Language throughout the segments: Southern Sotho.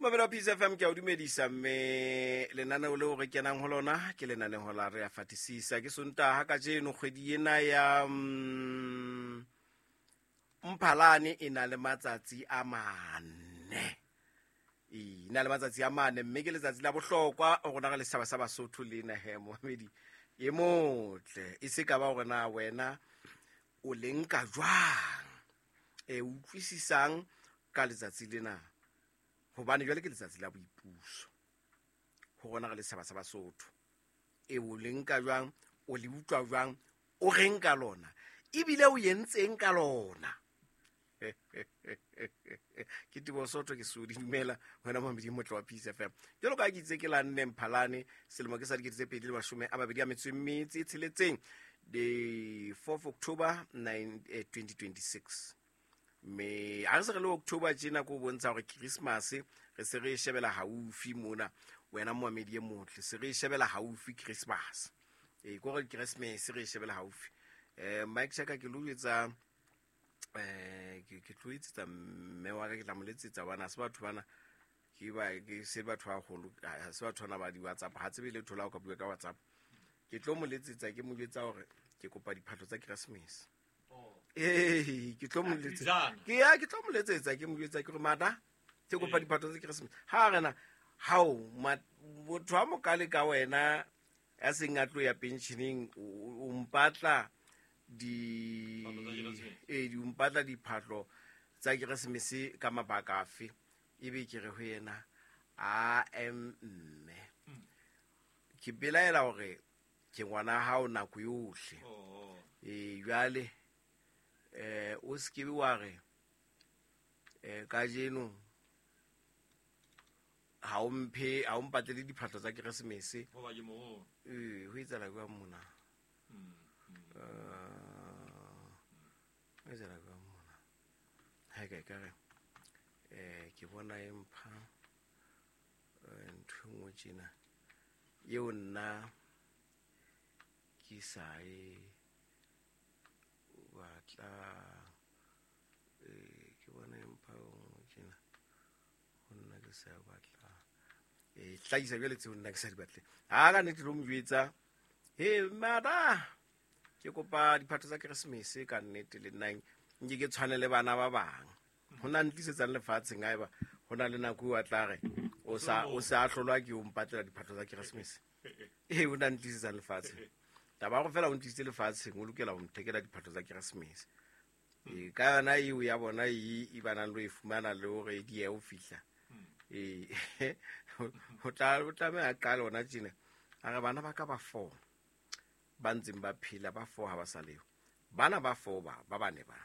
Mamelo wa Peace FM, ke a o dumedisa, mme lenaneo leo re kenang ho lona ke lenaneo la Re a Fatisisa. Ke Sontaha kajeno, kgwedi ena ya Mphalane e na le matsatsi a mane. E na le matsatsi a mane, mme ke letsatsi la bohlokwa ho rona re le setjhaba sa Basotho le nahe momamedi e motle. E se ka ba hore na wena o le nka jwang, e utlwisisang ka letsatsi lena, hobane jwale ke letsatsi la boipuso ho rona re le setjhaba sa Basotho. E o le nka jwang, o le utlwa jwang, o reng ka lona, ebile o entseng ka lona? Ke Teboho Sotho, ke sodi dumela wena momedi motle wa Peace FM. Jwalo ka ke itse ke la nne Mphalane selemo ke sa 2026, the 4th October 9, 2026. Mme ha re se re le October tjena, ko bontsha hore Christmas re se re e shebela haufi mona. Wena moamedi e motle, se re e shebela haufi Christmas, e ko re Christmas re e shebela haufi. Mike Chaka, ke lo jwetsa, ke tlo etsetsa mme wa ka, ke tla mo letsetsa hobane ha se batho bana, ke ba ke se batho ba haholo, ha se batho bana ba di-WhatsApp, ha tsebe letho la ho ka bua ka WhatsApp. Ke tlo mo letsetsa, ke mo jwetsa hore ke kopa diphahlo tsa Christmas. Ee, ke tlo mo letsetsa, ke ya ke tlo mo letsetsa, ke mo jwetsa ke re mada ke kopa diphahlo tsa Christmas. Ha rena hao motho a mokale ka wena ya seng a tlo ya pensioneng, o mpatla di ee di mpatla diphahlo tsa Keresemese ka mabaka afe? Ebe ke re ho yena, a em mme ke belaela hore ke ngwana hao nako yohle. Ee, jwale o se ke wa re kajeno ha o mphe, ha o mpatlele diphahlo tsa Keresemese. Ee, ho etsahala jwang mona? Ho etsahala jwang mona? Ha ka ekare ke bona e mpha ntho e nngwe tjena eo nna ke sa e batla. Ke bona e mpha e nngwe tjena ho nna ke sa e batla, e hlahisa jwale tseo nna ke sa di batle. Ha ka nnete lo mo jwetsa, he mada ke kopa diphatho tsa Keresemese ka nnete, le nna nke ke tshwane le bana ba bang. Ho na ntlisetsang lefatsheng haeba ho na le nako eo a tla re o sa o sa hlolwa ke o mpatlela diphatho tsa Keresemese. Ee, o na ntlisetsang lefatsheng, taba ya go fela o ntlisitse lefatsheng, o lokela ho nthekela diphatho tsa Keresemese. Ee, ka yona eo ya bona e ba nang le ho e fumana le hore e diehe ho fihla. Ee, ho tla o tlameha a qale hona tjena, a re bana ba ka ba four ba ntseng ba phela, ba four ha ba sa leo, bana ba four ba ba bane ba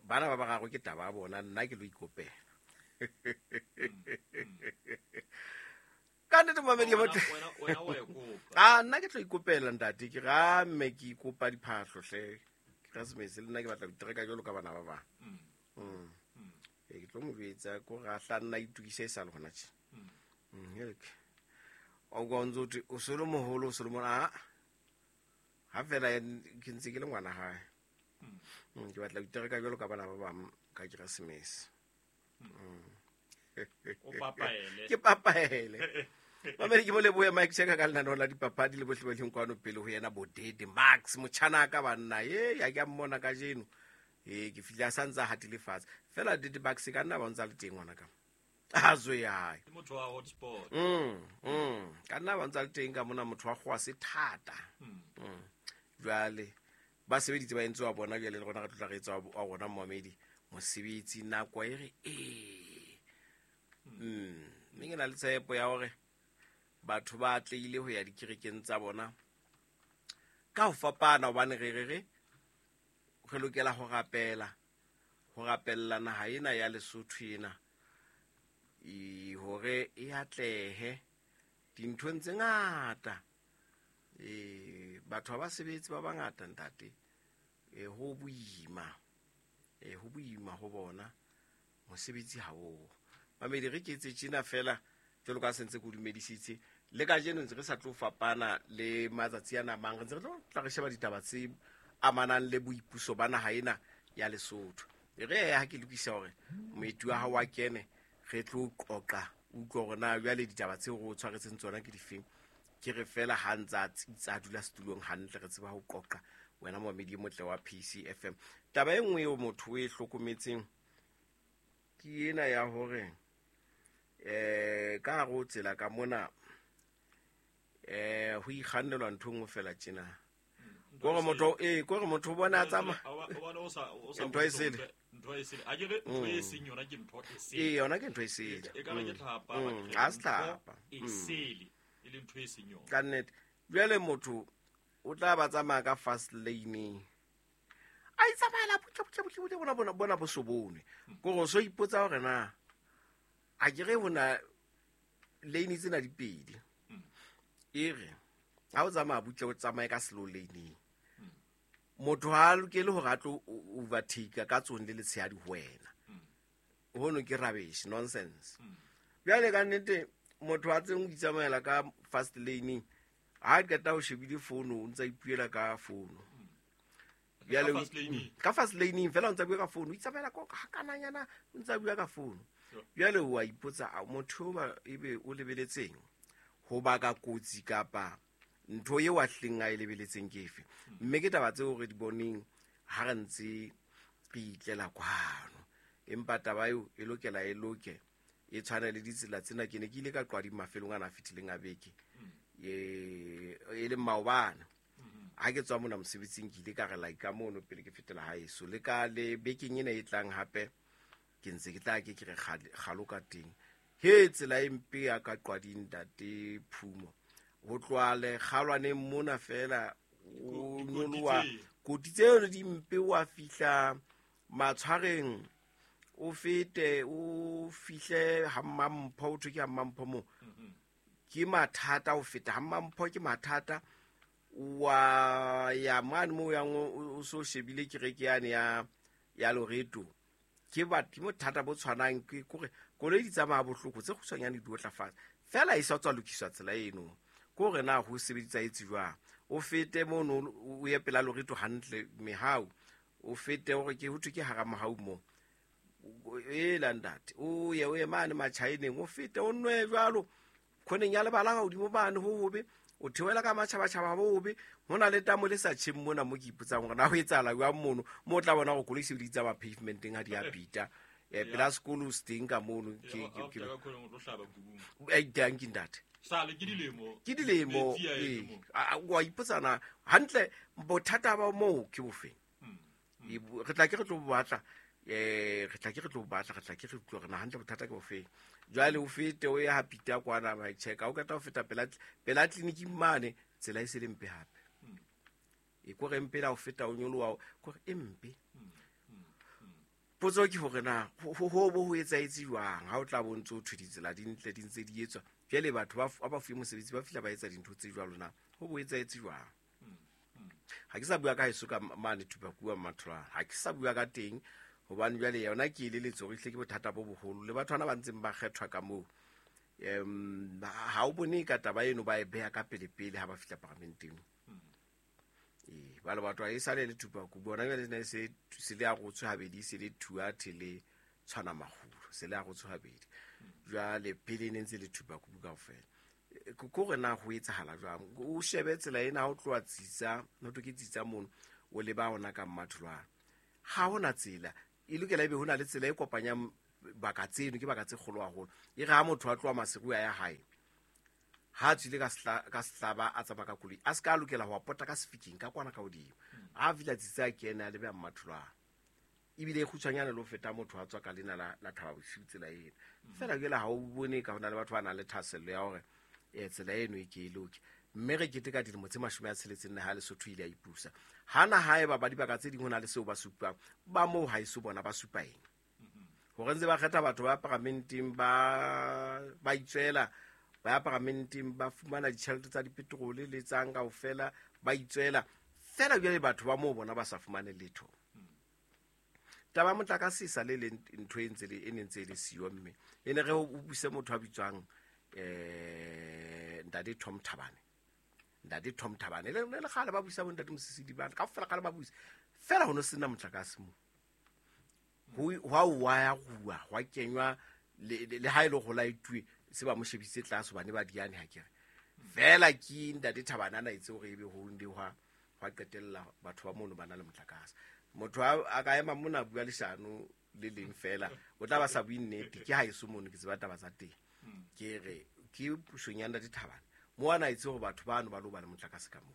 bana ba bararo ke taba ya bona, nna ke lo ikopela ka nnete. Momedi Wena- wena wa e kopa. A nna ke tlo ikopela ntate, ke ra mme ke ikopa diphahlo hle Keresemese, le nna ke batla ho itereka jwalo ka bana ba bang. Ee, ke tlo mo jwetsa ko re a hla nna itokise e sa le hona tje. O kwa o ntso thwe o so le moholo, o so le mona, ha fela ke ntse ke le ngwana hae. Ke batla ho itereka jwalo ka bana ba bang ka Keresemese. O papaele. Ke papaele. Mamedi, ke mo lebohe Mike Cheka ka lenaneo la dipapadi le bohle ba leng kwano pele ho yena, Bodede Max motjhana ka banna e ya ke a mmona kajeno. Ee, ke fihle a sa ntse a hatile fatshe fela. Dede Max ka nna ba ntse a le teng ngwana ka a tswe ya hae. Ke motho wa hotspot. Ka nna ba ntse a le teng ka mona, motho wa kgowa se thata. Jwale ba sebeditse ba entse wa bona, jwale le rona re tlotla re etsa wa rona momamedi mosebetsi nako e re ee. Mme ke na le tshepo ya hore batho ba atlehile ho ya dikerekeng tsa bona ka ho fapana, hobane re re re re lokela ho rapela, ho rapella naha ena ya Lesotho ena e hore e atlehe dinthong tse ngata. Batho ba sebetse ba bangata ntate, ho boima, ho boima ho bona mosebetsi ha o. Mamedi, re ke etse tjena fela jwalo ka se ntse ke o dumedisitse le kajeno, ntse re sa tlo fapana le matsatsi ana mang, re ntse re tlo tla re sheba ditaba tse amanang le boipuso ba naha ena ya Lesotho. E re ha ke lokisa hore moeti wa hao wa kene, Re tlo qoqa utlwa hore na jwale ditaba tseo re o tshwaretseng tsona ke difeng. Ke re fela ha ntse a tsitsa a dula setulong hantle, re tseba ho qoqa wena momamedi e motle wa PCFM. Taba e nngwe eo motho o e hlokometseng ke ena ya hore ka hare ho tsela ka mona ho ikgannelwa ntho e nngwe fela tjena. Kore motho kore motho o bona a tsamaya ntho e sele. Ntho e sele. A ke re ntho e seng yona ke ntho e sele. Ee, yona ke ntho e sele. E ka re ke tlhapa, Ha se tlhapa. E sele, e le ntho e seng yona. Ka nnete. Jwale motho o tla ba tsamaya ka fast lane. A itsamaela butle, butle, butle, butle, bona, bona, bona bo so bone. Kore o so ipotsa hore na a ke re hona lane tsena di pedi. E re ha o tsamaya butle o tsamaye ka slow lane. Motho ha a lokele hore a tlo overtake ka tsone le letshehadi ho wena. Hono ke rubbish, nonsense. Jwale ka nnete motho a tseng o itsamaela ka fast lane, ha a qeta ho shebile fono, o ntsa ipuela ka fono. Jwale Ka fast lane. Ka fast lane fela o ntsa bua ka fono, o itsamaela ko ha kananyana o ntsa bua ka fono. Jwale o a ipotsa, a motho o ba ebe o lebeletseng ho baka kotsi kapa ntho eo a hleng a e lebeletseng ke efe? Mme ke taba tseo re di boneng ha re ntse re itlela kwano. Empa taba eo e lokela e loke, e tshwane le ditsela tsena. Ke ne ke ile ka qwadi mafelong ana a fetileng a beke, e leng maobane. Ha ke tswa mona mosebetsing ke ile ka re like ka mono pele ke fetela haeso. Le ka le bekeng ena e tlang hape ke ntse ke tla ke ke re kgalo ka teng. He tsela e mpe ya ka qwading ntate Phumo. Ho tloha lekgalwaneng mona fela, o Dikoti nyoloha tse. koti tseno di mpe, wa fihla matshwareng, o fete o fihle ha Mmampho, ho thwe ke ha Mmampho moo. Ke mathata ho feta ha Mmampho, ke mathata. Wa ya mane moo yang o so shebile kereke yane ya Loreto. Ke ke bothata bo tshwanang, ke kore koloi di tsamaya bohloko, tse kgutshwanyane di otla fatshe. Fela e sa tswa lokiswa tsela eno. Ke hore na ho sebedisa etse jwang. O fete mono, o ye pela Loreto hantle mehau. O fete hore ke ho thwe ke hara mohau moo. E la ntate, o ye, o ye mane Matjhaeneng, o fete o nwe jwalo. Khoneng ya lebala ka hodimo mane ho hobe, o theohela ka matjhabatjhaba bo hobe. Ho na le tamo le sa tjheng mona mo ke ipotsang hore na ho etsahala jwang mono, mo o tla bona hore koloi se di tsamaya pavementeng ha di a pita. Pela sekolo se teng ka mono, Ha o fihla ka khoneng o tlo hlaba kubung. Dankie ntate. Sale ke dilemo. Ke dilemo, Metsi a ee. eme moo. Wa ipotsa na hantle bothata ba moo ke bofe? Re tla ke re tlo bo batla, re tla ke re tlo bo batla, re tla ke re utlwe hore na hantle bothata ke bofe. Jwale o fete o ye ha Peter kwana ba check, ha o qeta ho feta pela clinic mane, tsela e se le mpe hape. E kore mpe la ho feta o nyoloha, kore e mpe. Potso ke hore na ho bo ho etsahetse jwang ha o tla bo ntso thwe ditsela di ntle di ntse di etswa. Jwale batho ba fuwe mosebetsi ba fihla ba etsa dintho tse jwalo na ho bo etsahetse jwang? Ha ke sa bua ka heso ka mane Thupakua Mmatholwana, ha ke sa bua ka teng hobane jwale yona ke e leletso hore ehlile ke bothata bo boholo le batho bana ba ntseng ba kgethwa ka moo. Ha o bone ka taba eno ba e beha ka pele pele ha ba fihla paramenteng. Ba le batho ha e sale le Thupakua, bona jwale ne se, se le arotswe habedi, se le Thuathe le tshwana maholo, se le arotswe habedi. Jwale pele ne ntse le Thupakua kaofela. Ko re na ho etsahala jwang? O shebe tsela ena ha o tloha Tsitsa, ho thwe ke Tsitsa mono, o leba hona ka Mmatholwana. Ha hona tsela, e lokela ebe hona le tsela e kopanyang baka tseno, ke baka tse kgolo haholo. E re ha motho a tloha Maseru a ya hae, ha a tswile ka sehlaba a tsamaya ka koloi, a se ka lokela ho pota ka sefikeng ka kwana ka hodimo. Ha a fihla Tsitsa a kene a lebe Mmatholwana. Ebile e kgutshwanyane le ho feta motho a tswa ka lena la Thaba Bosiu tsela ena. Feela jwale ha o bone ka hona le batho ba nang le thahasello ya hore, tsela eno e ke e loke. Mme re keteka dilemo tse mashome a tsheletseng le ha Lesotho ile a ipusa. Hana haeba ba dibaka tse ding ho na le seo ba supang, ba moo ha eso bona ba supa eng? Hore ntse ba kgetha batho ba paramenteng ba itswela, ba ya paramenteng ba fumana ditjhelete tsa dipetrole le tsang kaofela, ba itswela. Feela jwale batho ba moo bona ba sa fumane letho. Taba ya motlakase e sa le le ntho e ntse le, e ne ntse e le siyo mme. E ne re o buse motho a bitswang, Ntate Tom Thabane. Ntate Tom Thabane. Le, le, le kgale ba busa bo Ntate Mosisili bana, kaofela kgale ba busa. Feela ho no sena motlakase moo. Ho, hwa wa ya rua, hwa kenywa Le ha ile go laetuwe se ba mo shebisitse tlase hobane ba diane ha kere fela ke ntate Thabana na itse hore ebe ho ndi hwa qetella batho ba mono ba na le motlakase. Motho a ka ema mona bua leshano le leng fela o tla ba sa bue nnete, ke ha eso mono ke tseba taba tsa teng. Ke re ke pusong ya ntate Thabana mo ana itse hore batho bano ba lo ba le motlakase ka moo.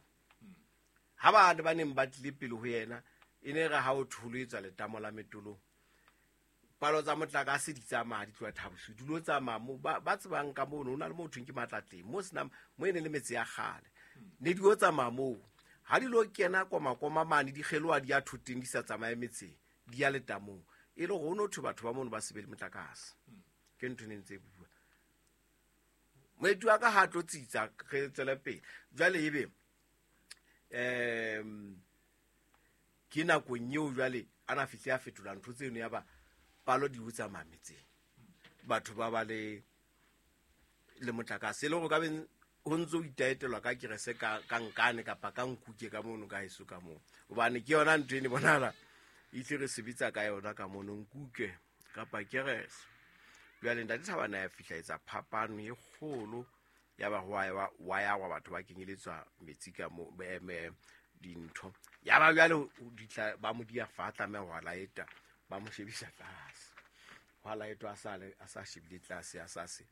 Ha ba ne ba neng ba tlile pele ho yena e ne re ha o tholetswa letamo la metolong, palo tsa motlakase di tsamaya di tloha Thabosu, di lo tsamaya mo ba tsebang ka mono, ho na le mo thweng ke Matlatleng mo senang mo e ne le metse ya kgale, ne di o tsamaya moo. Ha di lo kena komakoma mane di kgeloha di ya thoteng di sa tsamaye metseng di ya letamong, e le hore ho no thwe batho ba mono ba se be le motlakase. Ke ntho e ne ntse e bua. Moeti wa ka ha tlo tsitsa re tswele pele. Jwale ebe ke nakong eo jwale a na fihle a fetola ntho tseno ya ba palo di o tsamaya metseng, batho ba ba le motlakase. E le hore ka beng ho ntso itaetelwa ka kerese ka nkane kapa ka nkuke ka mono ka heso ka moo, hobane ke yona ntho e ne bonahala e tle re sebetsa ka yona ka mono, nkuke kapa kerese. Jwale ntate Thabana ya fihla etsa phapano e kgolo ya ba wa ya wa batho ba kenyeletswa metsi ka mo dintho. Ya ba jwale ditla ba mo dia fa tlameha ho laeta ba mo shebisa tlase, ho laetwa a sa shebile tlase a sa se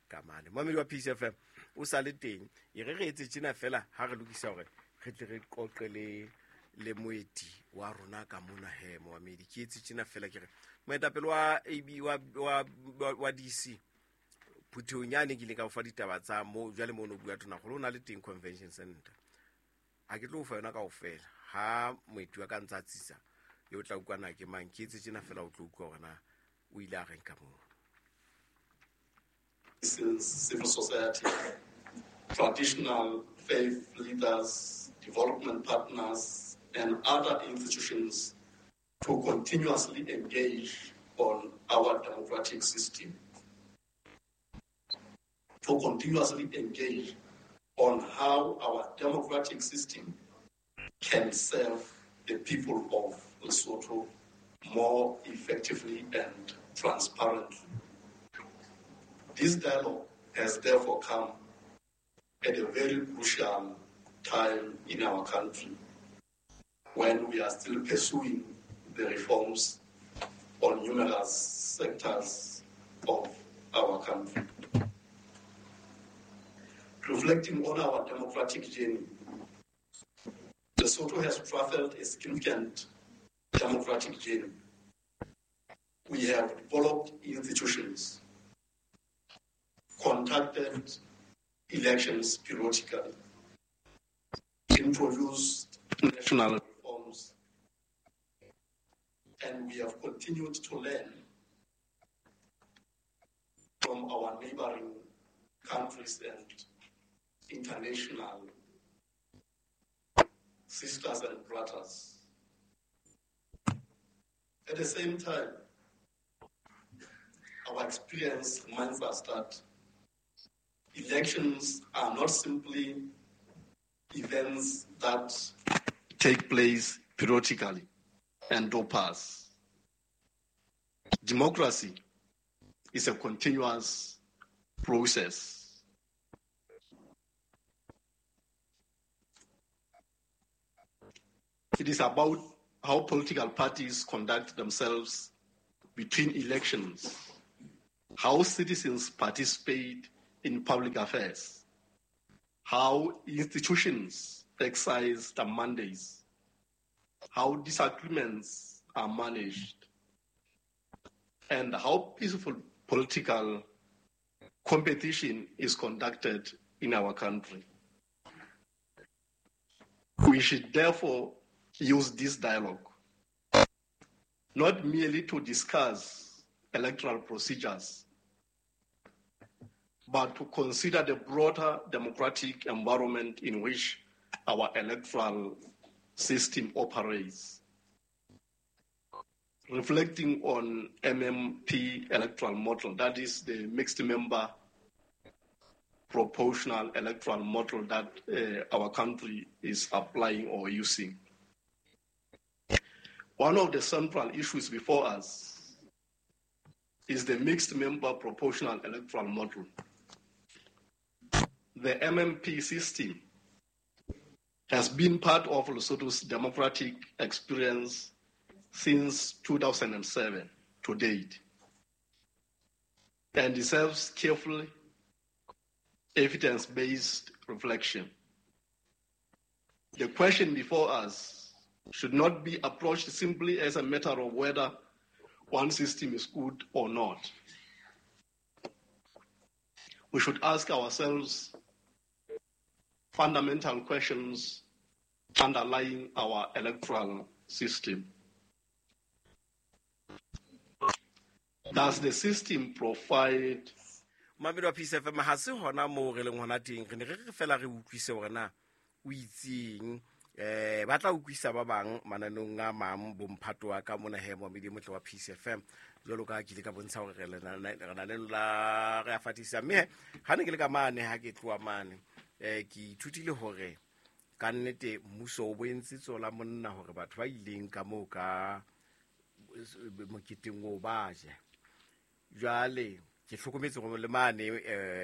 kamane. Momedi wa Peace FM o sa le teng, e re re etse tjena fela ha re lokisa hore re tle re qoqe le moeti wa rona ka mona he momedi. Ke etse tjena fela ke re moetapele wa AB wa DC phuthehong yane ke ile ka o fa ditaba tsa mo jwale mo no bua Tonakgolo o na le teng convention center. Ha ke tlo o fa yona kaofela ha moeti wa ka ntsa tsitsa yo tla utlwana ke mang. Ke etse tjena fela o tlo utlwa hore na o ile a reng ka moo. Civil society, traditional faith leaders, development partners, and other institutions to continuously engage on our democratic system, to continuously engage on how our democratic system can serve the people of Lesotho more effectively and transparently. This dialogue has therefore come at a very crucial time in our country when we are still pursuing the reforms on numerous sectors of our country. Reflecting on our democratic journey, Lesotho has traveled a significant democratic journey. We have developed institutions, conducted elections periodically, introduced national reforms, and we have continued to learn from our neighboring countries and international sisters and brothers. At the same time, our experience reminds us that elections are not simply events that take place periodically and do pass. Democracy is a continuous process. It is about how political parties conduct themselves between elections, how citizens participate in public affairs, how institutions exercise their mandates, how disagreements are managed, and how peaceful political competition is conducted in our country. We should therefore use this dialogue not merely to discuss electoral procedures, but to consider the broader democratic environment in which our electoral system operates. Reflecting on MMP electoral model, that is the mixed member proportional electoral model that our country is applying or using. One of the central issues before us is the mixed member proportional electoral model. The MMP system has been part of Lesotho's democratic experience since 2007 to date and deserves careful, evidence-based reflection. The question before us should not be approached simply as a matter of whether one system is good or not. We should ask ourselves fundamental questions underlying our electoral system. Does the system provide Mamedi wa Peace FM, ha se hona moo re leng hona teng, re ne re re fela re utlwise hore na o itseng. Ba tla utlwisa ba bang mananeng a mang bomphato wa ka mona he momedi e motle wa Peace FM. Jwalo ka ha ke ile ka bontsha hore re na le la re a fatisa. Mme ha ne ke le ka mane, ha ke tloha mane, ke ithutile hore ka nnete mmuso o bo entse tsola monna hore batho ba ileng ka moo ka moketeng oo ba je. Jwale ke hlokometse hore le mane,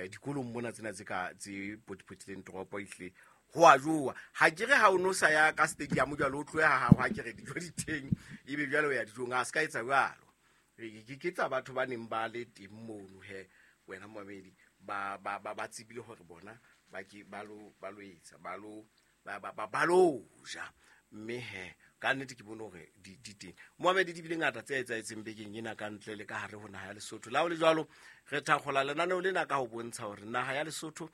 dikolong mona tsena tse ka tse potipotileng toropo ehlile ho a jowa. Ha ke re ha o no sa ya ka stadium jwale o tlohe ha hao, ha ke re dijo di teng, ebe jwale o ya dijong, a se ka etsa jwalo. Ke tsa batho ba neng ba le teng mono he, wena momamedi, ba tsebile hore bona ba ke ba lo, ba lo etsa, ba lo, ba, ba, ba, ba lo ja. Mme he, ka nnete ke bone hore di teng. Mohamedi, di bile ngata tse etsahetseng bekeng ena ka ntle le ka hare ho naha ya Lesotho. Le ha ho le jwalo, re thakgola lenaneo lena ka ho bontsha hore naha ya Lesotho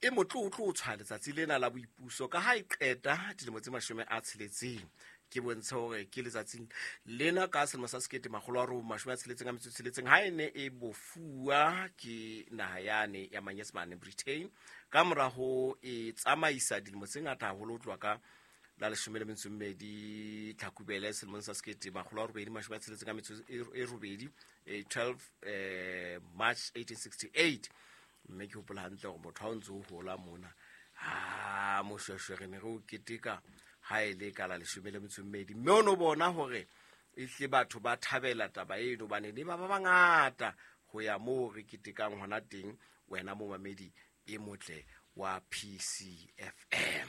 e motlotlo ho tshwaya letsatsi lena la boipuso ka ha e qeta dilemo tse 60. Ke bontshe hore ke letsatsing lena ka selemo sa sekete makgolo a robong mashome a tsheletseng a metso e tsheletseng ha e ne e bofuwa ke naha yane ya Manyesemane, Britain, ka mora ho e tsamaisa dilemo tse ngata haholo ho tloha ka la leshome le metso e mmedi Tlhakubele selemong sa sekete makgolo a robedi mashome a tsheletseng a metso e robedi, 12, March 1868. Mme ke hopola hantle hore motho ha o ntse o hola mona, ha moshweshwe re ne re o keteka ha e le ka la leshome le metso e mmedi. Mme o no bona hore ehlile batho ba thabela taba eno, hobane ne ba ba bangata ho ya moo re ketekang hona teng, wena momamedi e motle wa PCFM.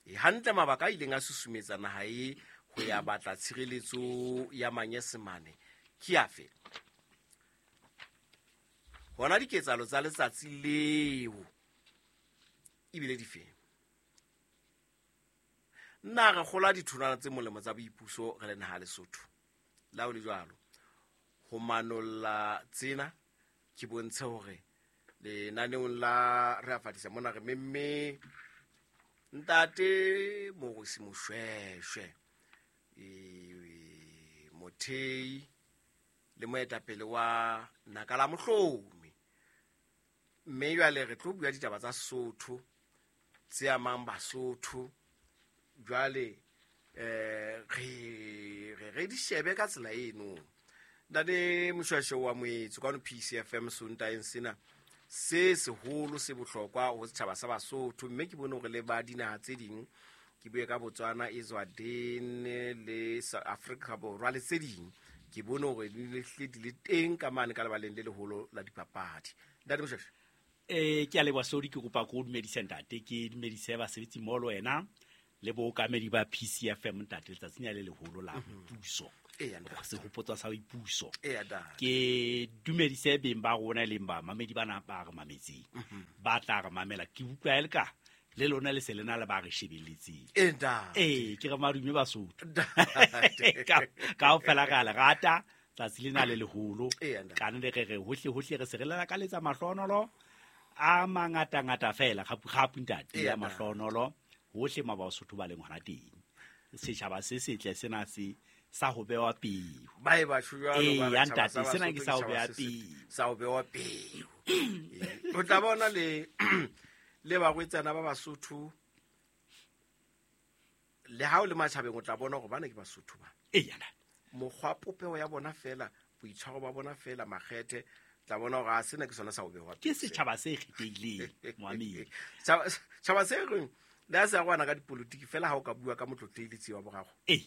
E hantle mabaka a ileng a susumetsa naha e ho ya batla tshireletso ya Manyesemane ke afe? Hona diketsahalo tsa letsatsi leo ebile di fe? Nna re kgola ditholwana tse molemo tsa boipuso re le naha Lesotho. Le ha ho le jwalo, ho manolla tsena ke bontshe hore lenaneong la re a fatisa mona re memme Ntate Morosi Moshweshwe, mothei le moetapele wa Naka la Mohlomi. Mme jwale re tlo bua ditaba tsa Sesotho tse amang Basotho. Jwale, re di shebe ka tsela eno. Ntate Moshweshwe wa Moetso kwano PCFM Sontaeng sena se seholo se bohlokwa ho setjhaba sa Basotho, mme ke bone hore le ba dinaha tse ding, ke bue ka Botswana, Eswatini le Afrika Borwa le tse ding, ke bone hore di le hle di le teng ka mane ka lebaleng le leholo la dipapadi. Ntate Moshweshwe. Ke a leboha Sodi, ke kopa ko dumedise ntate, ke dumedise basebetsi mmoho le wena le bookamedi ba PCFM ntate, letsatsi lena le leholo la boipuso. Eya, ntate. Sehopotso sa boipuso. Eya, ntate. Ke dumedise beng ba rona e leng bamamedi bana ba re mametseng. Ba tla re mamela. Ke utlwa e le ka le lona le se le na le ba re shebelletseng. Ee, ntate. Ee, ke re madume Basotho. Ntate. Kaofela re a le rata, tsatsi lena le leholo. Eya, ntate. Ka nnete re re hohle hohle re se re lakaletsa mahlonolo a mangatangata fela, kgapu kgapu ntate, Eya, ya ntate. mahlonolo hohle ma Basotho ba leng hona teng. Setjhaba se setle sena se sa ho bewa peo. Ba e batho jwalo, Ee, ba re ya tjhaba ntate, sa sena ke Basotho sa ho ke beha tjhaba se setle. peo. Sa ho bewa peo. Ee. O tla bona le barwetsana ba Basotho, le ha o le matjhabeng o tla bona hore bana ke Basotho ba. Ee, ya ntate. Mokgwa popeho ya bona fela, boitshwaro ba bona fela, makgethe, tla bona hore a sena ke sona sa ho bewa Ke peo. setjhaba se kgethehileng, Moamedi. Tjhaba se reng, le ha se arogana ka dipolotiki fela ha o ka bua ka motlotlehi le Tsiwa Boraro. Ee.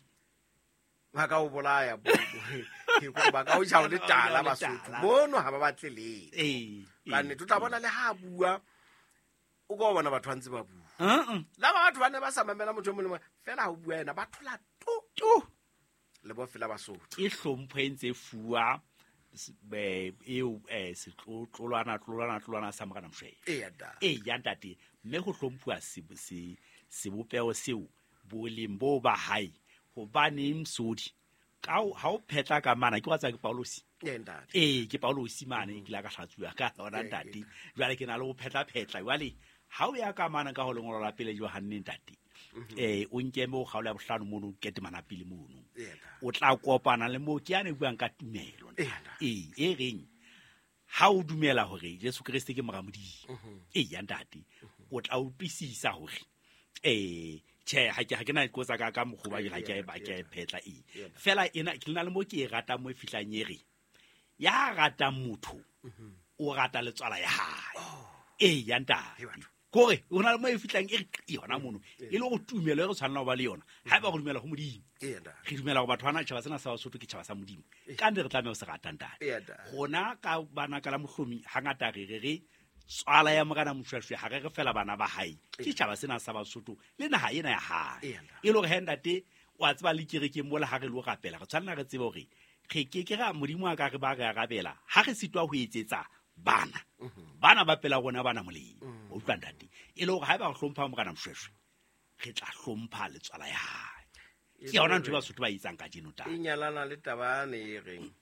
Ba ka o bolaya ke gore ba ka o ja o le tala Basotho mono ha ba batle letho. Ka nnete o tla bona le ha a bua o ka bona batho ba ntse ba bua. La batho ba ne ba sa mamela motho e mong le mong fela ha o bua yena ba thola tu le bo fela Basotho. Ke hlompho e ntse fuwa eo setlotlolwana tlolwana sa Morena Moshoeshoe. Eya ntate, mme go hlomphuwa sebopeho seo boleng bo ba hae hobaneng Sodi ka ha o phetla ka mana ke wa tsa ke Paulosi. Ee, ke Paulosi mane ke la ka hlatsuwa ka ona ntate. Jwale ke na le ho phetla jwale ha o ya ka mana ka ho lengolo la pele Johanne ntate. O nke mo kgaolo ya bohlano mono ketemana pele mono. O tla kopana le mo ke ya ne buang ka tumelo. Ee, e reng ha o dumela hore Jesu Kreste ke mora Modimo. Ee, ntate, o tla utlwisisa hore tjhe ha ke na kotsa ka mokgoba ke ha ke ba ke phetla e. Fela ena ke na le mo ke e ratang mo e fihlang e re ya ratang motho o rata letswala ya hae. Ee, ya ntate. Kore o na le mo e fihlang e re yona mono e le go tumelo e re tshwanela ho ba le yona ha eba go dumela ho Modimo. Re dumela go batho bana tjhaba sena sa Basotho ke tjhaba sa Modimo. Ka nne re tlameha ho se rata ntate. Rona ka bana ka la mohlomi hangata re re tswala ya Morena Moshoeshoe ha re re fela bana ba hae ke tjhaba sena sa Basotho le naha ena ya hae. E le hore he ntate wa tseba le kerekeng mola ha re lo rapela re tshwanela re tsebe hore re ke ke ra Modimo a ka re ba re arabela ha re sitwa ho etsetsa bana bana ba pela rona bana molemo. O utlwa ntate e le hore ha eba re hlompha Morena Moshoeshoe re tla hlompha letswala ya hae. Ke yona ntho Basotho ba etsang kajeno taba. E nyalana le taba ne e reng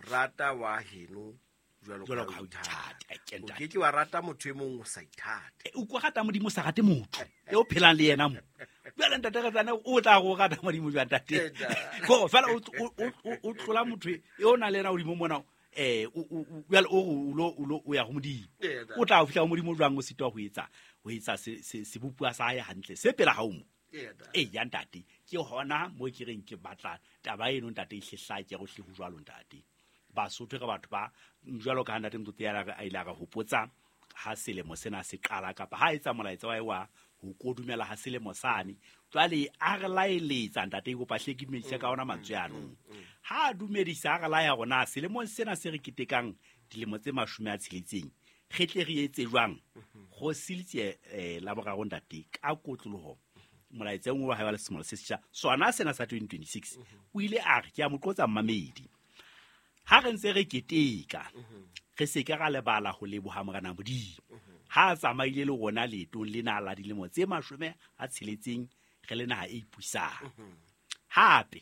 rata wa heno jwalo ka o ithata. O ke ke wa rata motho e mong o sa ithate. O kwa rata Modimo o sa rate motho e o phelang le yena mo. Jwale ntate re tsana o tla go rata Modimo jwang ntate? Ko fela o tlola motho e o na le yena hodimo mona jwale o o ya ho Modimo. O tla fihla ho Modimo jwang o sitwa ho etsa sebopuwa sa hae hantle se pela hao mo. Ee, ya ntate, ke hona mo ke reng ke batla taba eno ntate e hlehlake go hle ho jwalo ntate. Basotho re batho ba jwalo ka ntate Mtoto ya a ile a re hopotsa ha selemo sena se qala kapa ha etsa molaetsa wa wa ho kodumela ha selemo sane. Jwale a re laeletsa ntate kopa hle ke dumedise ka ona mantswe ano. Ha a dumedisa a re laya rona selemong sena se re ketekang dilemo tse 60 re tle re etse jwang go silitse la boraro ntate ka kotloloho molaetsa wa hae wa selemo se setjha sona sena sa 2026 o ile a re ke a mo qotsa mmamedi. Ha re ntse re keteka re se ke ra lebala ho leboha Morena Modimo ha a tsamaile le rona leetong lena la dilemo tse 60 re le naha e ipusang. Hape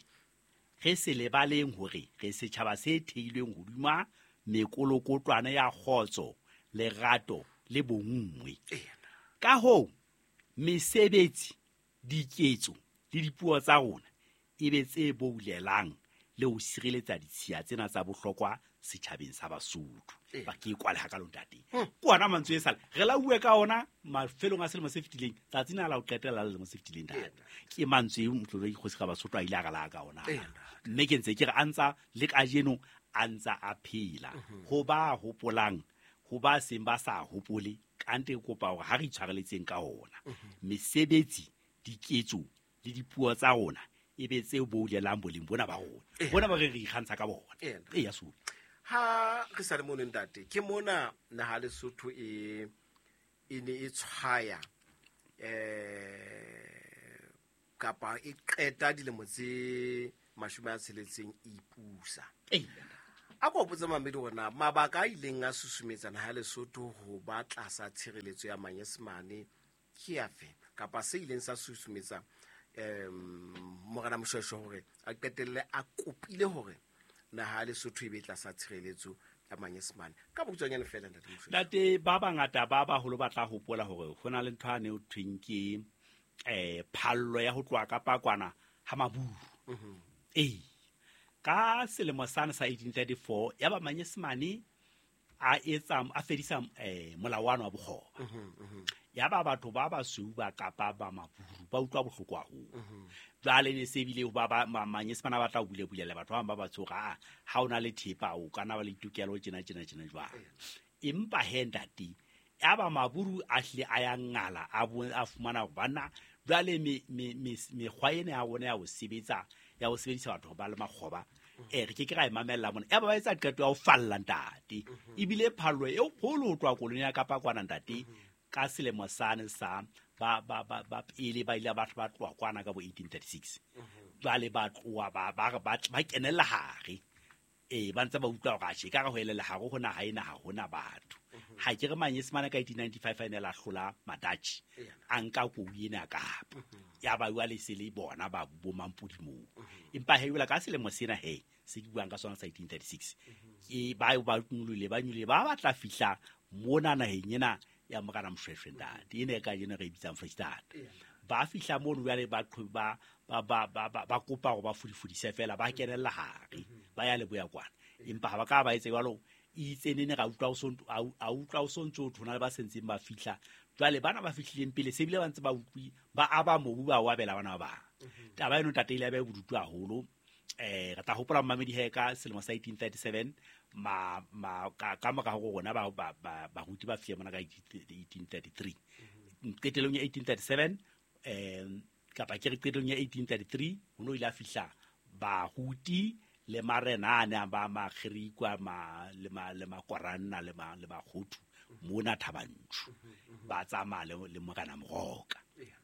re se lebaleng hore re setjhaba se theilweng hodima mekolokotwana ya kgotso, lerato le bonngwe. Ka hoo mesebetsi, diketso le dipuo tsa rona e be tse boulelang le ho sireletsa ditshiya tsena tsa bohlokwa setjhabeng sa Basotho. Ba ke kwale ha ka lo ntate. Ke ona mantswe e sale re la bue ka ona mafelong a selemo se fetileng tsatsi na la ho qetela la selemo se fetileng ntate. Ke mantswe e Motlotlegi Kgosi ga Basotho a ile a re la ka ona. Mme ke ntse ke re a ntsa le kajeno a ntsa a phela. Ho ba hopolang ho ba seng ba sa hopole kante ke kopa hore ha re itshwareletseng ka ona. Mesebetsi, diketso le dipuo tsa rona e be tse boulelang boleng bona ba rona. Bona ba re re ikgantsha ka bona. Ee, ya Sodi. Ha re sa le mono ntate, ke mona naha Lesotho e ne e tshwaya kapa e qeta dilemo tse 60 e ipusa. A ko botse mamedi hore na mabaka a ileng a susumetsa naha Lesotho ho ba tlasa tshireletso ya Manyesemane ke afe kapa se ileng sa susumetsa Morena Moshoeshoe hore a qetelle a kopile hore naha Lesotho e be tlasa tshireletso ya Manyesemane. Ka bokutswanyane fela ntate Moshoeshoe. Ntate ba bangata ba baholo ba tla hopola hore ho na le ntho ane o thweng ke phallo ya ho tloha ka pakwana ha Maburu. Ee, ka selemo sane sa 1834 ya ba Manyesemane a etsa a fedisa molao wa bokgoba. Ya ba batho ba basweu ba kapa ba Maburu ba utlwa bohloko haholo. Jwale ne se bile ba Manyesemane ba tla bulebulela batho ba bang ba batsoga ha ona le thepa o kana ba le ditokelo tjena tjena tjena jwang. Empa he ntate ya ba Maburu a hle a ya ngala a fumana hore bana jwale mekgwa ena ya rona ya ho sebetsa ya ho sebedisa batho ba le makgoba re ke ke ra e mamella mona. Ya ba ba etsa qeto ya ho falla ntate, ebile phallo e kgolo ho tloha koloni ya Kapa kwana ntate. Ka selemo sane sa ba ba ba ba pele ba ile ba ba tloha kwana ka bo 1836. Jwale ba tloha ba ba ba ba kenella hare, ba ntse ba utlwa hore atjhe, ka re ho elella hare ho naha ena ha hona batho. Ha ke re Manyesemane ka 1895 a ne la hlola Madutch, a nka kou ena Kapa, ya ba jwale se le bona ba bo mampodi moo. Empa he jwale ka selemo sena he se ke buang ka sona sa 1836, ke ba ba nyolole ba nyolole ba batla fihla mona naheng ena ya Morena Moshoeshoe ntate, ena e kajeno re e bitsang Freistata. Ba fihla mono jwale ba ba ba ba ba ba kopa hore ba fudifudise fela, ba kenella hare, ba ya leboya kwana. Empa ha ba ka ba etse jwalo, itse nene ra utlwa a utlwa o sontso o thona le ba sentseng ba fihla. Jwale bana ba fihlileng pele se bile ba ntse ba utlwi ba aba mobu ba o abela bana ba bang. Taba eno ntate ile ya ba bodutu haholo. Re tla hopola mmamedi he ka selemo sa 1837 ma ma ka ka mora hore rona ba ba baruti ba fihle mona ka 1833. Qetellong ya 1837 kapa ke re qetellong ya 1833 ho no ile a fihla baruti le marena a ne a ba makgerikwa ma le ma le makoranna le ma le bakgothu mona Thabanchu, ba tsamaya le Morena Moroka.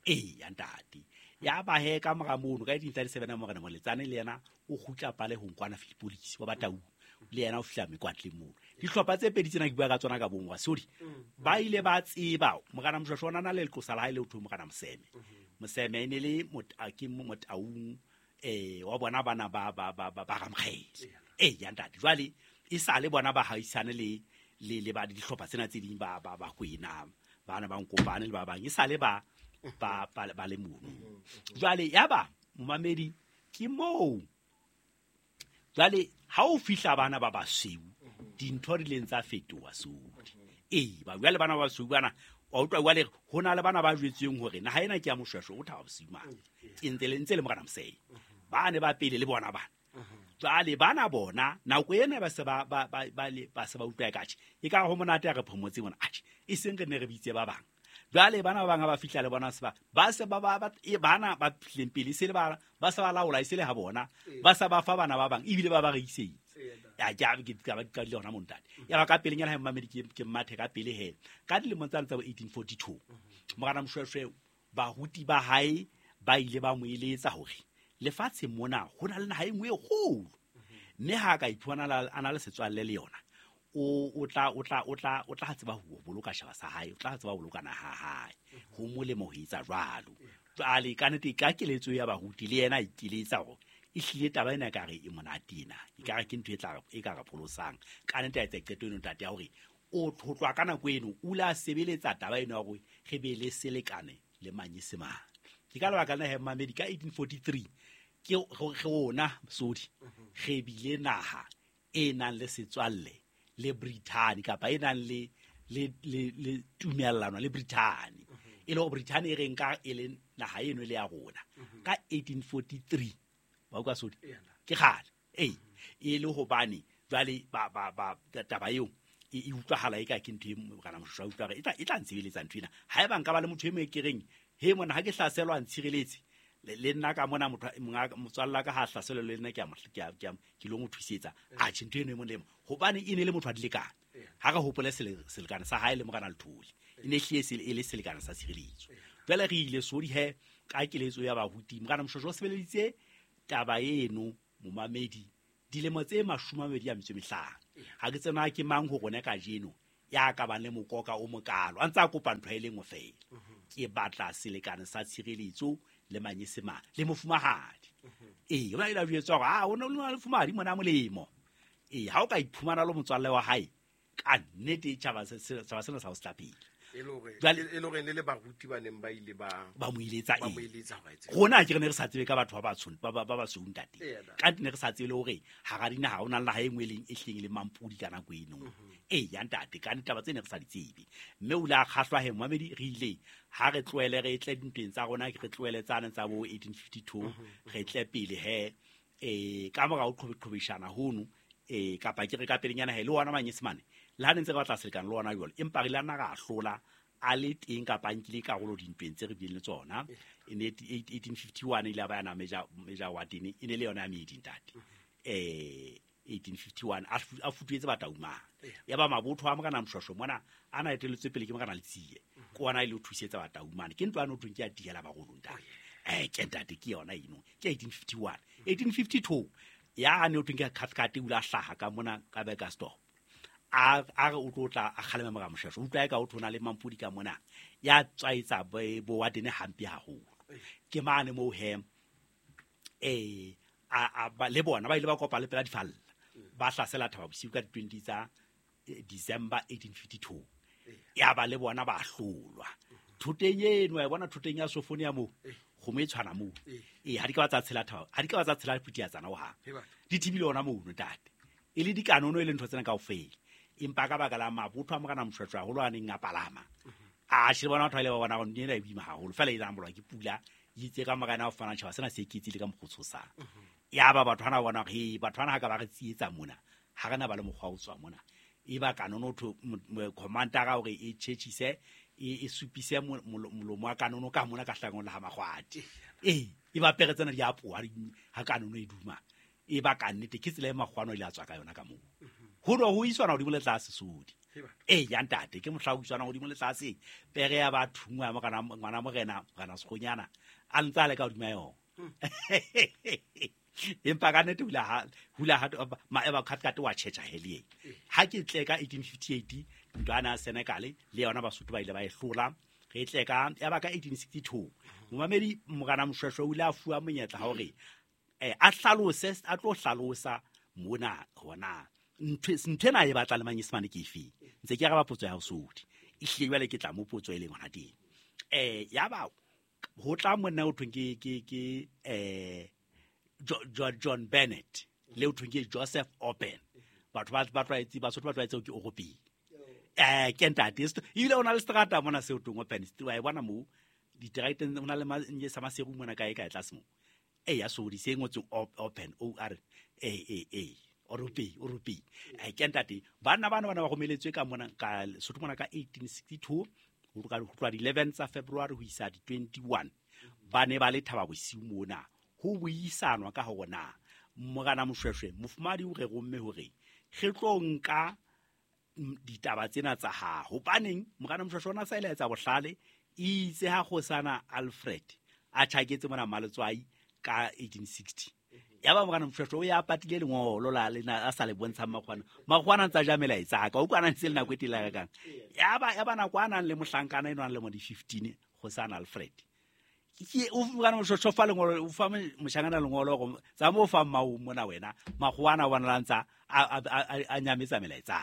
Ya ntate. Ya ba he ka mora mono ka 1837 Morena Moletsane le yena o kgutla pale ho nkwana Philippolis wa Batau, le yena o fihla mekwatleng mono. Dihlopha tse pedi tsena ke bua ka tsona ka bongwa sorry, ba ile ba tseba Morena Moshoeshoe o na le leqosa la hae le ho thwe Morena Moseme. Moseme e ne le ke Motaung wa bona bana ba ba ba ba ba Ramokgele. Ya ntate. Jwale e sa le bona ba haisane le le le ba dihlopha tsena tse ding ba ba ba kwena bana ba nkopane le ba bang e sa le ba ba ba ba le mono. Jwale ya ba momamedi ke moo. Jwale ha o fihla bana ba basweu dintho di leng tsa fetoha sodi. Ba jwale bana ba basweu bana wa utlwa jwale ho na le bana ba jwetsweng hore naha ena ke ya Moshoeshoe o Thaba Bosiu mane. Ke ntse le ntse le Morena Moseme. Ba ne ba pele le bona bana. Jwale bana bona nako ena ba se ba ba ba ba le ba se ba utlwa ka tjhe. E ka ho monate ya re phomotse mona. Atjhe, e seng re ne re bitse ba bang. Jwale bana ba bang ha ba fihla le bona se ba ba se ba ba e bana ba fihleng pele se le ba ba se ba laola e se le ha bona ba sa ba fa bana ba bang ebile ba ba rekisetsa. Ya ke ke ba ka le hona montate. Ya ba ka pelenyana ha mmamedi ke mmathe ka pele he. Ka dilemo tsa 1842 Morena Moshoeshoe baruti ba hae ba ile ba mo eletsa hore lefatshe mona ho na le naha e nngwe e kgolo, mme ha ka iphumana a na le setswalle le yona o tla o tla o tla o tla tseba ho boloka shaba sa hae, o tla tseba ho boloka naha hae. Ho molemo ho etsa jwalo. Jwale ka nnete ka keletso ya baruti le yena a ikeletsa hore e hlile taba ena ka re e monate ena, e ka re ke ntho e tla e ka re pholosang. Ka nnete a etsa qeto eno ntate ya hore o tlotlwa ka nako eno o la sebeletsa taba eno ya hore re be le selekane le Manyesemane. Ke ka lebaka lena he mmamedi ka 1843 ke rona sodi re bile naha e nang le setswalle le Britain kapa e nang le le le le tumellano le Britain. E le hore Britain e re nka e le naha eno le ya rona ka 1843. Wa utlwa sodi? Ke kgale. E le hobane jwale ba ba ba taba eo e utlwahala e ka ke ntho e Morena Moshoeshoe a utlwa hore e tla ntshebeletsa ntho ena. Haeba nka ba le motho e mong e ke reng he mona ha ke hlaselwa ntshireletse le nna ka mona motho motswalla ka ha hlaselwa le nna ke a ke lo mo thusetsa. Atjhe ntho eno e molemo hobane e ne le motho a dilekane. Ha re hopole selekane sa hae le Morena Lethole, e ne hlile e le selekane sa tshireletso. Jwale re ile sodi he ka keletso ya baruti Morena Moshoeshoe o sebeleditse taba eno momamedi dilemo tse 25. Ha ke tsena ke mang ho rona kajeno ya ka bang le mokoka o mokalo a ntse a kopa ntho e le nngwe fela. Ke batla selekane sa tshireletso le Manyesemane le mofumahadi. Ba ile ba jwetsa hore a o ne le mofumahadi mona molemo. Ha o ka iphumana le motswalle wa hae ka nnete tjhaba sena sa ho se pele. E le hore le baruti ba neng ba ile ba mo iletsa ba mo iletsa hore etse. Rona ke re ne re sa tsebe ka batho ba batsho ba ba basweu ntate. Ka ne re sa tsebe le hore hara dinaha ho na le naha e nngwe e leng e hleng le mampodi ka nako eno. Ya ntate ka ditaba tse ne re sa di tsebe. Mme o ile a kgahlwa he momamedi re ile ha re tlohele re tle dintweng tsa rona re tlohele tsane tsa bo 1852 re tle pele he ka mora ho qhobeshana hono kapa ke re ka pelenyana he le ona Manyesemane le ha ne ntse re batla selekane le ona jwalo empa re ile nna ra hlola a le teng kapa a nkile karolo dintweng tse re bileng le tsona. E ne 1851 ile a ba yana Major Warden, e ne le yona ya meedi ntate. 1851 a futuetse Bataung. Ya ba mabotho a Morena Moshoeshoe mona a na etelletswe pele ke Morena Letsie. Ke ona ile ho thusetsa Bataung mane. Ke ntwa eno thweng ke ya tihela barolo ntate. Ke ntate ke yona eno. Ke 1851. 1852 ya ne o thweng ke Cathcart o ile a hlaha ka mona ka Burgersdorp. A re o tlo tla a kgalema Morena Moshoeshoe. Utlwa eka o thona le Mampodi ka mona. Ya tswaetsa bo Warden hampe haholo. Ke mane moo he le bona ba ile ba kopa le pela difalla. Ba hlasela Thaba Bosiu ka di-20 tsa December 1852. Ya ba le bona ba hlolwa. Thoteng eno wa bona thoteng ya Sofonia moo. Kgomo e tshwana moo. Ha di ka ba tsa tshela Thaba, ha di ka ba tsa tshela Phutiatsana ho hang. Di thibile hona mono ntate. E le dikanono e le ntho tsena kaofela. Empa ka baka la mabotho a Morena Moshoeshoe haholo a neng a palama. A shebe bona batho ba ile ba bona hore ntho ena e boima haholo. Feela e tsamolwa ke pula, e itse ka morena o fana tjhaba sena se iketsile ka mokgwa o tshosang. Ya ba batho hana bona hore, hei, batho bana ha ka ba re tsietsa mona, ha re na ba le mokgwa o tswa mona. E ba kanono tho, commander-a hore e tjhetjhise, e supise molomo wa kanono ka mona ka hlangong le ha Makgwadi. E ba pere tsena di a poha, ha kanono e duma. E ba ka nnete, ke tsela e Makgwano a ile a tswa ka yona ka moo. Ho no ho iswana hodimo le tlase sodi. Ya ntate, ke mohla ho iswana hodimo le tlase. Pere ya ba thungwa ya morena, ngwana morena, morena Sekgonyana, a ntse a le ka hodima yona. Empa ka nnete ho ile ha, ho ile ha, ma, eba Cathcart wa tjhetjha he le yena. Ha ke tle ka 1858, ntwa ya Senekal le yona Basotho ba ile ba e hlola. Re tle ka, ya ba ka 1862. Momamedi Morena Moshoeshoe o ile a fuwa monyetla hore, a hlalose, a tlo hlalosa mona hona. Ntho ena e batla le Manyesemane ke efe? Ntse ke araba potso ya hao Sodi. Ehlile jwale ke tla mo potso e leng hona teng. Ya ba ho tla monna o thweng ke, John Bennett le o thweng ke Joseph Open. Batho ba tlwaetse, Basotho ba tlwaetse ke Oropeng. Ke ntate. Ebile o na le seterata mona seo thweng Open. Wa e bona moo diterateng, o na le sa Maseru mona kae kae tlase moo. Ya Sodi se ngotsweng Open, O R A A A. Oropeng, Oropeng. Ke ntate. Banna bana bana ba romeletswe ka mona, ka Sotho mona ka 1862, ho tloha di 11 tsa February ho isa di 21. Ba ne ba le Thaba Bosiu mona. Ho buisanwa ka hore na Morena Moshoeshoe mofumahadi o re romme hore re tlo nka ditaba tsena tsa hao. Hobaneng Morena Moshoeshoe o na sa ile a etsa bohlale, itse ha kgosana Alfred a tjhaketse mona Maletswai ka 1860. Ya ba Morena Moshoeshoe o ya patile lengolo la lena a sa le bontshang Makgwana. Makgwana a ntsa ja melaetsa ka, o utlwa a ntse le nako e telele kang. Ya ba nako a nang le mohlankana eno a nang le mo di 15, kgosana Alfred. Ke o Morena Moshoeshoe fa lengolo, o fa moshangana lengolo hore tsa mo fa mmao mona wena, Makgwana wa bona ntsa a nyametsa melaetsa.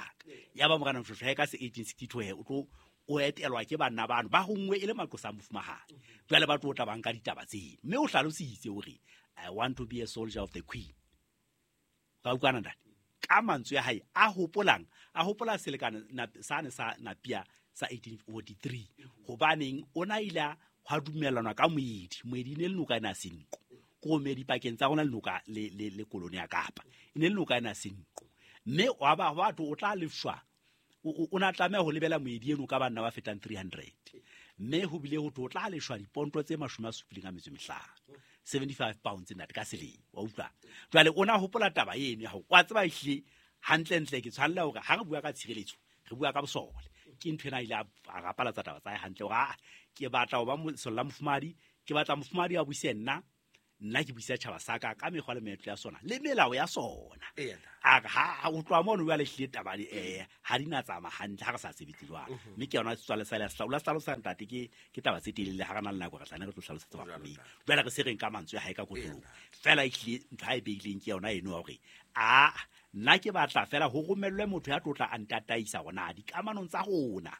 Ya ba Morena Moshoeshoe ka se 1862 he o tlo o etelwa ke banna bano ba hongwe e le maqosa a mofumahadi. Jwale ba tlo tla ba nka ditaba tseno. Mme o hlalositse hore I want to be a soldier of the queen. Ka utlwana ntate? Ka mantswe a hae a hopolang, a hopola selekane sane sa Napia sa 1843. Hobaneng o na ile a hwa dumellanwa ka moedi. Moedi e ne le noka ena Senqu. Ko moedi pakeng tsa rona le noka le koloni ya Kapa. E ne le noka ena Senqu. Mme wa ba batho o tla lefshwa. O na tlameha ho lebela moedi eno ka banna ba fetang 300. Mme ho bile ho tlo tla leshwa diponto tse mashome a supileng a metso e mehlano. 75 pounds ntate ka selemo, wa utlwa. Jwale o na hopola taba eno ya hore wa tseba ehlile hantlentle ke tshwanela hore ha re bua ka tshireletso, re bua ka bosole. Ke ntho ena ile a rapalatsa taba tsa hae hantle hore, ke batla ho ba lesole la mofumahadi, ke batla mofumahadi a buise nna, nna ke buisa tjhaba sa ka ka mekgwa le meetlo ya sona le melao ya sona. A re, ha o tloha mono jwale ehlile taba di, ha di na tsamaya hantle ha re sa sebetse jwalo. Mme ke yona setswalle sa le sa o la hlalosa ntate, ke taba tse telele, ha re na le nako re tla ne re tlo hlalosetsa Jwalo, bafumedi. ntate. Jwale re se reng ka mantswe a hae ka kotloloho. Feela ehlile ntho a e beileng ke yona eno ya hore, nna ke batla feela ho romellwe motho ya tlo tla a ntataisa hore na dikamanong tsa rona.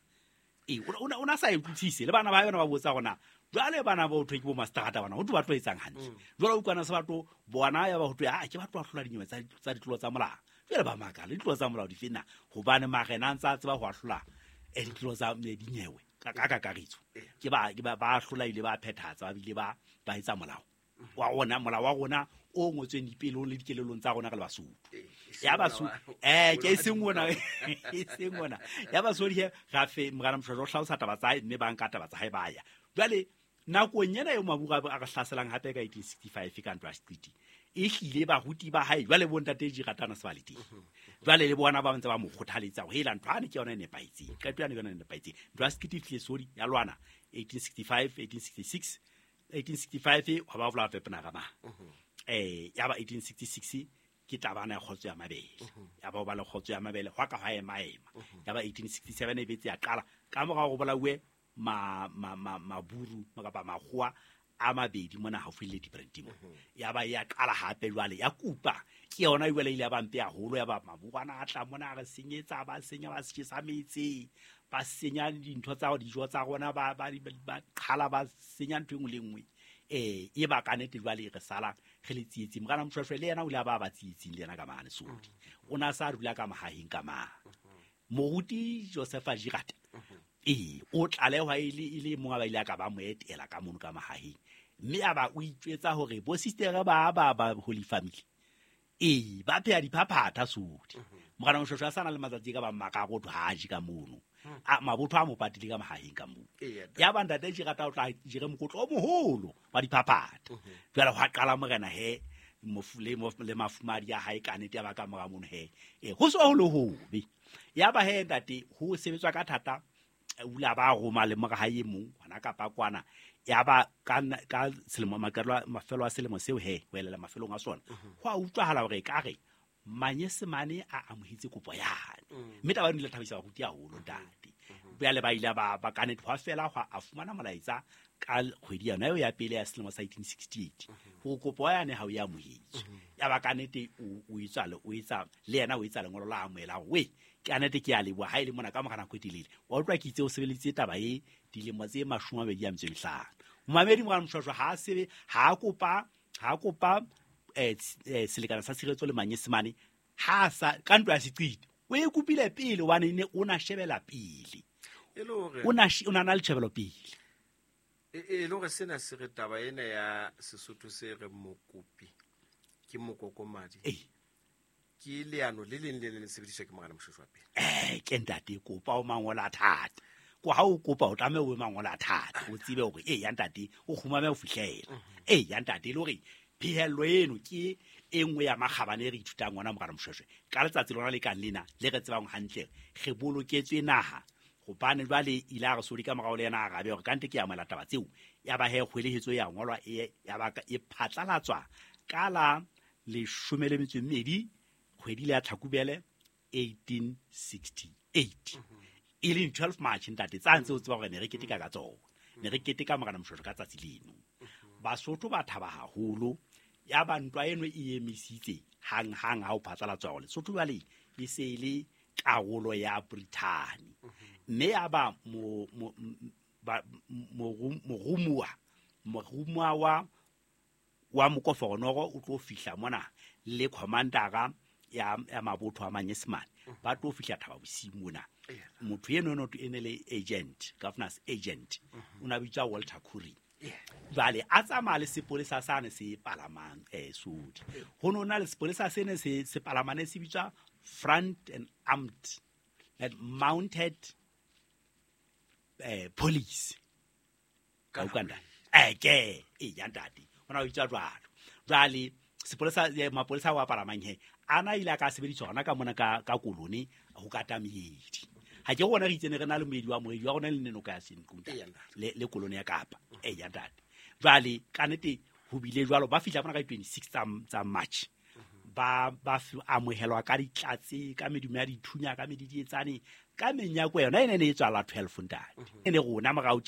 O na sa e utlwisise, le bana ba yona ba botsa hore na jwale bana ba ho thwe ke bo mastrata bana, ho thwe ba tlo etsang hantle. Jwale o utlwana se ba tlo bona ya ba ho thwe, ke ba tlo ahlola dinyewe tsa ditlolo tsa molao. Jwale ba makala, ditlolo tsa molao di fe na? Hobane marena a ntse a tseba ho ahlola, ditlolo tsa, dinyewe ka kakaretso. Ke ba, ke ba, ba ahlola ebile ba phethahatsa, ba bile ba etsa molao wa rona, molao wa rona o ngotsweng dipelong le dikelelong tsa rona re le Basotho. Ya Basotho ke seng ona e seng ona ya Basotho he ra fe Morena Moshoeshoe o hlalosa taba tsa hae, mme ba nka taba tsa hae ba ya. Jwale nakong ena eo maburu a re hlaselang hape ka 1865 ka ntwa ya Seqiti, e hlile baruti ba hae jwale bo ntate Jiratana se ba le teng. Jwale le bona ba ntse ba mo kgothaletsa hore hela ntho ane ke yona e nepahetseng, qeto yane ke yona e nepahetseng. Ntwa ya Seqiti e hlile sodi ya lwana 1865, 1866, 1865 hwa ba bolawa Pepenara ma. Ya ba 1866 ke tabana ya kgotso ya mabele. Ya ba ho ba le kgotso ya mabele hwa ka hwa ema ema. Ya ba 1867 e betse ya qala ka morao ho bolauwe maburu kapa makgowa a mabedi mona haufi le Ladybrand mo. Ya ba ya qala hape jwale ya kupa ke yona jwale ile ya ba mpe haholo, ya ba maburu ana a tla mona a re senyetsa, ba senya, ba tjhesa metse, ba senya dintho tsa dijo tsa rona, ba qhala, ba senya ntho e nngwe le nngwe. E ba ka nnete jwale re sala re le tsietsing. Morena Moshoeshoe le yena o ile a ba ba tsietsing le yena ka mane Sodi. O na sa dula ka mahaheng ka mane. Moruti Joseph Girard o tlalehwa e le mong a ba ile a ka ba mo etela ka mono ka mahaheng. Mme a ba o itjwetsa hore bo sister ba ba Holy Family ba pheha diphaphatha Sodi. Morena Moshoeshoe a sa na le matsatsi ka ba mararo ho ha je ka mono. A mabotho a mo patile ka mahaheng ka moo. Ya ba ntate Girard o tla jere mokotlo o moholo wa diphaphatha. Jwale hwa qala morena he le mafumadi a hae ka nnete ya ba ka mora mono he. Ho so ho le hobe. Ya ba he ntate ho sebetswa ka thata, o ile a ba roma le mora hae e mong hona kapa kwana. Ya ba ka selemo mafelo a selemo seo he ho elela mafelong a sona. Ho a utlwahala hore ekare Manyesemane a amohetse kopo yane. Mme taba eno e ile thabisa baruti haholo ntate. Jwale ba ile ba ka nnete hwa fela hwa a fumana molaetsa ka kgwedi yona eo ya pele ya selemo sa 1868 hore kopo yane ha o e amohetswe. Ya ba ka nnete o etsa le yena o etsa lengolo la amohela hore we ke nnete ke a leboha ha e le mona ka mora nako e telele. Wa utlwa ke itse o sebeleditse taba e dilemo tse 25. Momamedi Morena Moshoeshoe ha sebe ha kopa selekane sa tshireletso le Manyesemane ha sa ka ntwa ya Seqiti o e kopile pele hobane ne o na shebela pele. O na na le tjhebelo pele. E le hore sena se re taba ena ya Sesotho se re mokopi ke mokokomadi. Ke leano le leng le leng le sebediswa ke Morena Moshoeshoe pele. Ke ntate kopa o mangola thata. Ko ha o kopa o tlameha o mangola thata, o tsebe hore ya ntate o kgumame ho fihlela. Ya ntate le hore phihello eno ke e nngwe ya makgabane e re ithutang ona Morena Moshoeshoe. Ka letsatsi lona le kang lena le re tsebang hantle re boloketswe naha. Hobane jwale ile a re sodi ka morao le yena a arabe hore kante ke amohela taba tseo. Ya ba he kgwelehetso ya ngolwa ya ba e phatlalatswa ka la 12 kgwedi le ya Tlhakubele 1868. E leng 12 March ntate tsa ntse o tseba hore ne re keteka ka tsona. Ne re keteka Morena Moshoeshoe ka tsatsi leno. Basotho ba thaba haholo. Ya ba ntwa eno e emisitse hang hang ha o phatlalatswa hore Lesotho jwale e se e le karolo ya Brithani. Mme ya ba morumuwa wa mokoforonoro o tlo fihla mona le commander ya mabotho a Manyesemane ba tlo fihla Thaba Bosiu mona. Motho eno no e ne le agent, governor's agent, o na bitswa Walter Currie. Jwale a tsamaya le sepolesa sane se palamang Sodi. Ho no na le sepolesa sene se palamane se bitswa Front and Armed and Mounted Police. Ka Uganda. Ke ya ntate. Ona o bitswa jwalo. Jwale sepolesa mapolesa wa palamang he ana ile ka sebediswa hona ka mona ka kolone ho kata meedi. Ha ke rona re itsene re na le moedi wa rona le nenoka ya Senqu le kolone ya Kapa. Ya ntate. Jwale ka nnete ho bile jwalo ba fihla mona ka 26 tsa March. Ba amohelwa ka ditlatse ka medumo ya dithunya ka medidietsane ka menyako yona e ne e tswala 12 ntate. E ne rona morao